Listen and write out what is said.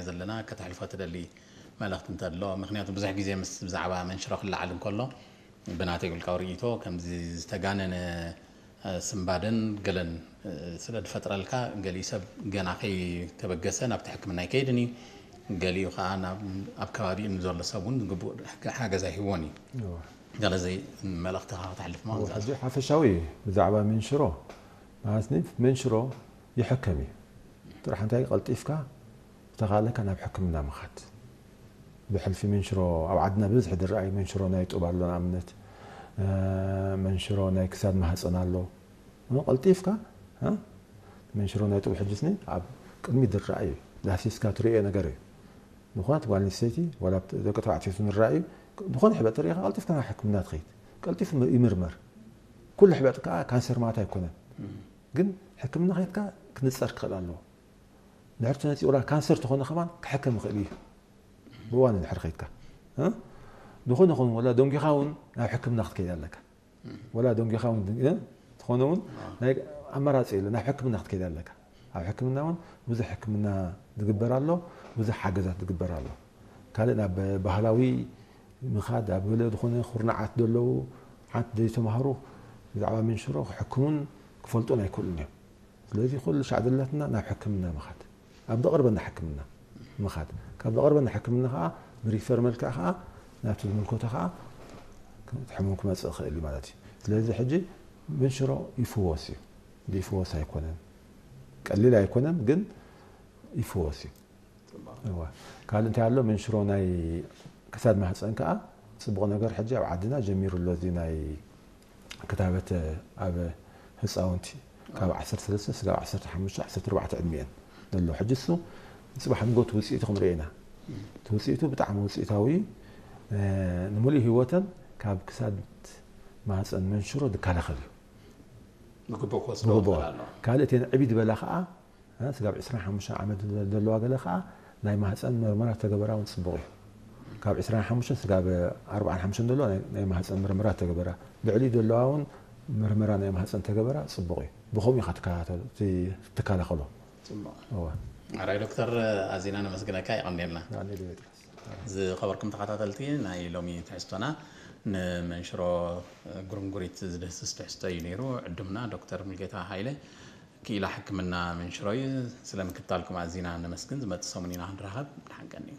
ዘለና ከተሕልፎ ትደሊ መልእኽቲ እንተሎ? ምክንያቱ ብዙሕ ግዜ ምስ ብዛዕባ መንሽሮ ክለዓል እንከሎ ብናተይ ውልቃዊ ርእይቶ ከምዚ ዝተጋነነ ስንባደን ገለን ስለ ዝፈጥረልካ፣ ገሊኡ ሰብ ገና ከይተበገሰ ናብቲ ሕክምና ኣይከይድን እዩ። ገሊኡ ከዓ ኣብ ከባቢኡ ንዘሎ ሰብ እውን ግቡእ ሓገዝ ኣይህቦን እዩ። ገለ ዘይ መልእኽትኻ ከተሕልፍ ማለት ሕጂ ሓፈሻዊ እዩ። ብዛዕባ መንሽሮ ማለት መንሽሮ ይሕከም እዩ። ጥራሕ እንታይ ቀልጢፍካ ዝተኻለካ ናብ ሕክምና ምኻድ። ብሕልፊ መንሽሮ ኣብ ዓድና ብብዝሒ ዝረኣይ መንሽሮ ናይ ጡብ ኣሎ፣ ንኣብነት መንሽሮ ናይ ክሳድ ማህፀን ኣሎ። ቀልጢፍካ መንሽሮ ናይ ጡብ ሕጅስኒ ኣብ ቅድሚ ዝረኣይ እዩ። ዳሲስካ ትርእዮ ነገር እዩ። ዝኾነት ጓል ኣንስተይቲ ዋላ ደቂ ተባዕትዮ ንረኣዩ ዝኾነ ሕብጥ ተሪእኻ ቀልጢፍካ ናብ ሕክምና ትኸይድ። ቀልጢፉ ይምርመር። ኩሉ ሕብጥ ከዓ ካንሰር ማለት ኣይኮነን። ግን ሕክምና ከይድካ ክንፀር ክኽእል ኣለዎ። ድሕርቲ ነፂ ወላ ካንሰር ተኾነ ከማን ክሕከም ይኽእል እዩ። ብዋን ድሕር ኸይድካ ዝኾነ ኹን ወላ ደንጊኻ እውን ናብ ሕክምና ክትከይድ ኣለካ። ወላ ደንጊኻ እውን ዝኾነ እውን ናይ ኣማራፂ የለ ናብ ሕክምና ክትከይድ ኣለካ። ኣብ ሕክምና እውን ብዙሕ ሕክምና ዝግበር ኣሎ። ብዙሕ ሓገዛት ዝግበር ኣሎ። ካልእ ናብ ባህላዊ ምኻድ ኣብ ገለ ዝኾነ ኩርናዓት ዘለዉ ሓንቲ ዘይተማሃሩ ብዛዕባ መንሽሮ ክሕክሙን ክፈልጡን ኣይክእሉን እዮም። ስለዚ ኩሉ ሻዕ ዘለትና ናብ ሕክምና ምኻድ፣ ኣብ ዝቐርበና ሕክምና ምኻድ፣ ካብ ዝቐርበና ሕክምና ከዓ ብሪፈር መልክዕ ከዓ ናብቲ ዝምልከቶ ከዓ ሕሙም ክመፅእ ይኽእል እዩ ማለት እዩ። ስለዚ ሕጂ መንሽሮ ይፍወስ እዩ። ይፍወስ ኣይኮነን፣ ቀሊል ኣይኮነን፣ ግን ይፍወስ እዩ። እዋ ካልእ እንታይ ኣሎ? መንሽሮ ናይ ክሳድ ማህፀን ከዓ ፅቡቕ ነገር ሕጂ ኣብ ዓድና ጀሚሩ ኣሎ። እዚ ናይ ክታበት ኣብ ህፃውንቲ ካብ ዓሰርተ ሰለስተ ስጋብ ዓሰርተ ሓሙሽተ ዓሰርተ ኣርባዕተ ዕድሚኤን ዘሎ ሕጂ እሱ ፅባሕ ንጎ እቲ ውፅኢቱ ክንርኢ ኢና። እቲ ውፅኢቱ ብጣዕሚ ውፅኢታዊ እዩ። ንምሉእ ህይወተን ካብ ክሳድ ማህፀን መንሽሮ ዝከላኸል እዩ። ብግቡእ ክወስዶ ብግቡእ። ይኽእል ኣሎ። ካልእ እተን ዕብይ ዝበላ ከዓ ስጋብ ዕስራን ሓሙሽተን ዓመት ዘለዋ ገለ ከዓ ናይ ማህፀን መርመራ ተገበራ እውን ፅቡቕ እዩ። ካብ ዕስራን ሓሙሽተን ስጋብ ኣርባዓን ሓሙሽተን ዘለዋ ናይ- ናይ ማህፀን መርመራ ተገበራ። ልዕሊኡ ዘለዋ እውን መርመራ ናይ ማህፀን ተገበራ ፅቡቕ እዩ። ብኸምኡ ኢኻ ትከታተሎ- እቲ- ትከላኸሎ። ፅቡቕ። እወ። ኣራይ ዶክተር ኣዚና ነመስግነካ፣ የቐንየልና። ንዓኒ ድቤጥሮስ። ዝኸበርኩም ተኸታተልቲ ናይ ሎሚ ትሕዝቶና ንመንሽሮ ጉርንጉሪት ዝድህስስ ትሕዝቶ እዩ ነይሩ። ዕዱምና ዶክተር ሙልጌታ ሃይለ ክኢላ ሕክምና መንሽሮ እዩ። ስለ ምክታልኩም ኣዚና ነመስግን። ዝመጽእ ሰሙን ኢና ክንራኸብ። ደሓን ቀንዩ።